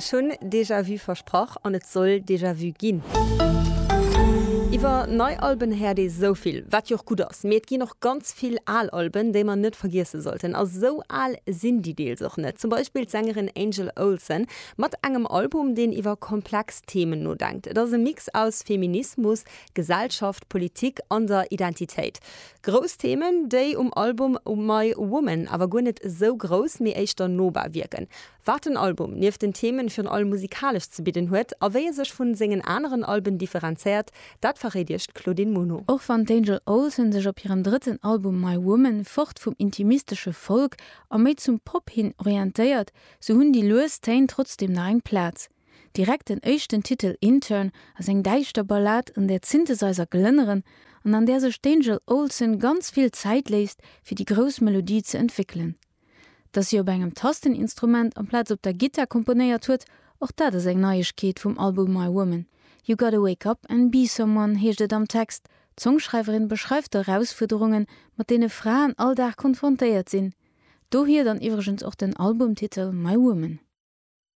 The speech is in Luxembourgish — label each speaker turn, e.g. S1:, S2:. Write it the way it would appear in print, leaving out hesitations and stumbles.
S1: Ech hunn Déjà-vu versprach an et soll Déjà-vu ginn. Iwwer nei Alben héiert ee sou vill, wat jo och gutt ass, mee et ginn och ganz vill al Alben, déi mer net vergiesse sollten. A sou al sinn déi deels och net. Zum Beispill d'Sängerin Angel Olsen mat engem Album, deen iwwer komplex Themen nodenkt. Et ass e Mix aus Feminismus, Gesellschaft, Politik an der Identitéit. Grouss Themen, déi um Album My Woman awer guer net esou grouss, mee éischter nobar wierken. Wat den Album nieft den Themen virun allem musikalesch ze bidden huet a wéi e sech vun sengen aneren Alben differenzéiert, dat verréit iech d'Claudine Muno.
S2: Och wann d'Angel Olsen sech op hirem drëtten Album My Woman fort vum intimistesche Folk a méi zum Pop hin orientéiert, sou hunn déi lues Téin trotzdeem nach eng Plaz. Direkt den éischten Titel Intern ass eng däischter Ballad, an där d'Synthesizer glënneren an an där sech d'Angel Olsen ganz vill Zäit léisst, fir déi grouss Melodie ze entwéckelen. Dass si op engem Tasteninstrument amplaz op der Gittar komponéiert huet, och dat ass eng Neiegkeet vum Album My Woman. You gotta wake up and be someone heescht et am Text. D'Songschreiwerin beschreift d'Erausfuerderungen, mat deene Fraen all Dag konfrontéiert sinn. Dohier dann iwwregens och den Albumtitel My Woman.